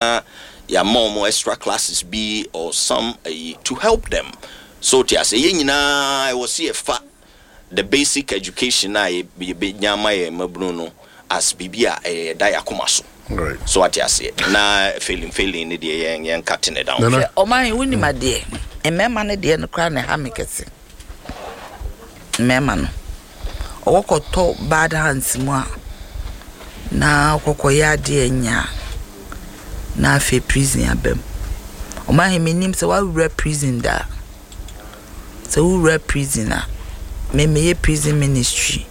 Yɛama wɔn extra classes bi or some ayi to help them. So te ase, yɛn nyinaa ɛwɔ sɛ yɛfa the basic education a yɛbɛnya ama yɛn mmabunu no as biribi a ɛyɛ yɛda yɛn akoma so. So ate aseɛ, na failing failing ne deɛ yɛn cut ne down. Nana. Hwɛ, ɔman yi, wonim adeɛ, mmarima no deɛ no koraa na ɛha me kɛse. Mmarima no, ɔkɔkɔtɔ bad hands mu a, na ɔkɔkɔyɛ adeɛ nya a, na afei prison aba mu. Ɔman yi, menim sɛ woawura prison da a, sɛ wowura prison a, me meyɛ prison ministry,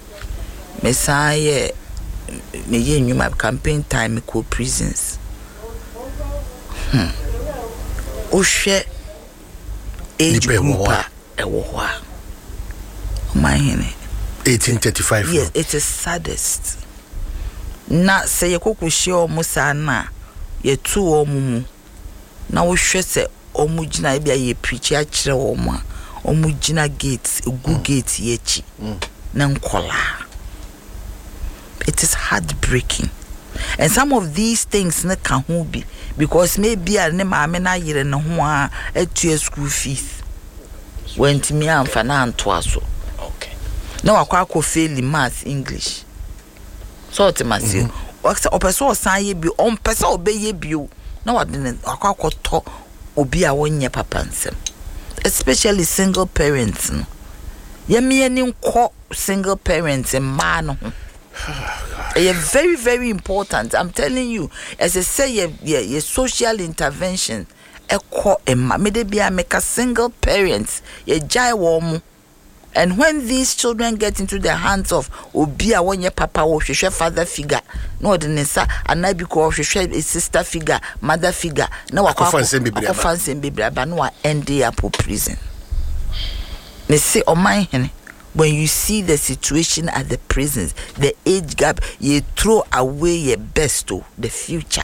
mesan yɛ meyɛ nnwuma campaign time, mekɔ prisons. Wohwɛ age Nipa ɛwɔ group hɔ a ɛwɔ hɔ a, ɔman hene. 1835. Yes, it is saddest. Na sɛ yɛkɔkɔhyia ɔmo saa na yɛto wɔn mu na wohwɛ sɛ ɔmo gyina, ebi a yɛ preach akyerɛ wɔn a, ɔmo gyina gate egu gate yi akyi na nkɔlaa. It is heartbreaking. And some of these things ne ka ho bi because maybe a ne maame na ayere ne ho a atua school fees, wantumi amfa na antoa so na wakɔ akɔ fail maths, English, so ɔte ma se ɔpɛ sɛ ɔsan yɛ bio, ɔmpɛ sɛ ɔbɛyɛ bio na wɔde ne wakɔ akɔtɔ obi a wɔnyɛ papa nsɛm, especially single parents no. Yɛmmea ni nkɔ single parents mmaa no ho, ɛyɛ very very important. I'm telling you, ɛsɛ sɛ yɛ social intervention ɛkɔ mma mede bia meka single parents yɛgyae wɔn mo. And when these children get into the hands of obi a wɔnyɛ papa, wɔhwehwɛ father figure na ɔde ne nsa anaa bi kɔ ɔhwehwɛ sister figure, mother figure, na wakɔ Akɔfa nsɛm bebree aba. Akɔfa nsɛm bebree aba na wa end up wɔ prison. Me se, ɔman hene, when you see the situation at the prisons, the age gap, you throw away your best o, the future,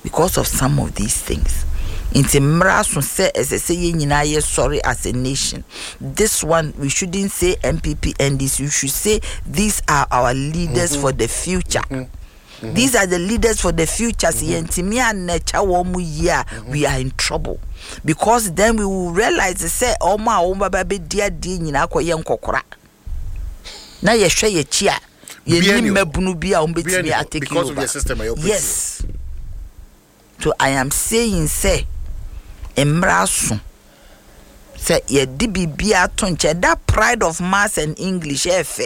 because of some of these things. Nti mmara so sɛ ɛsɛ sɛ yɛn nyinaa yɛ sorry as a nation. This one, we shouldn't say NPP, NDC. We should say these are our leaders for the future. These are the leaders for the future. Sɛ yɛntumi anɛkya wɔn mu yie a, we are in trouble, because then we will realize sɛ wɔn a wɔn baba bɛdi adeɛ nyinaa kɔyɛ nkɔkora na yɛhwɛ yɛkyi a, Bia yɛni ni hɔ. mmabunu bi a wɔn Bia bɛtumi ni hɔ, atake because of over. the system a yɛ operate. Yes, so I am saying sɛ mmara so sɛ yɛde biribi ato nkyɛn, that pride of maths and English ɛɛfɛ,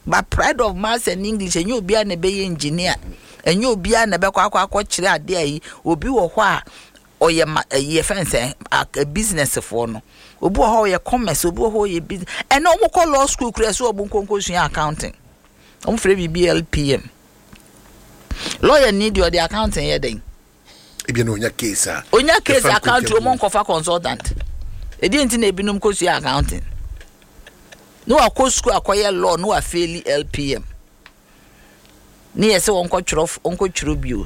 but pride of maths and English, ɛnyɛ obiara na ɛbɛyɛ engineer, ɛnyɛ obiara na ɛbɛkɔ akɔkyerɛ adeɛ a yi. Obi wɔ hɔ a ɔyɛ ma ɛyɛ fɛn sɛ a business foɔ no, obi wɔ hɔ a ɔyɛ commerce, obi wɔ hɔ a ɔyɛ business. Ɛnna wɔn kɔ law school kura sɛ wɔn nkonko sua accounting, wɔn fɛ biribi LPM. Lawyer ni deɛ, ɔde accounting yɛ den? Ebi na onya case a onya case ɛfa accounting nkontabuo. Wɔn nkɔfa consultant edi nti na ebinom kɔ sua accounting ne wakɔ school akɔyɛ law ne wafail LPM ne yɛ sɛ wɔn kɔtwerɛ, wɔn kɔtwerɛ bio.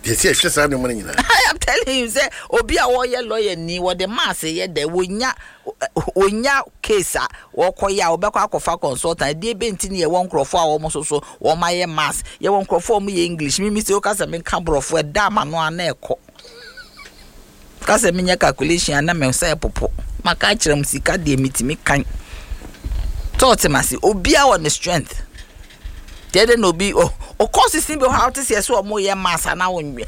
Deɛ sɛ yɛhwɛ saa nneɛma no nyinaa. I am telling you sɛ obi a wɔyɛ lawyer ni, wɔde maths yɛ dɛ, wonya case a wɔkɔyɛ a, wɔbɛkɔ akɔfa consultant. Ɛdeɛ bɛ nti ne yɛwɔ nkurɔfoɔ a wɔn nso so wɔn ayɛ maths, yɛwɔ nkurɔfoɔ a wɔn yɛ English. Mimi sɛ woka sɛ menka borɔfo, ɛda ama no ana ɛkɔ ka sɛ menyɛ calculation a na me nsa ɛpopo. Maka akyerɛ mu, sika deɛ metumi kan tɔɔte ma se obiara wɔ ne strength deɛ de na obi ɔkɔ sisi bi hɔ a wote sɛ ɛsɛ ɔmo yɛ maths ana wɔn mimi.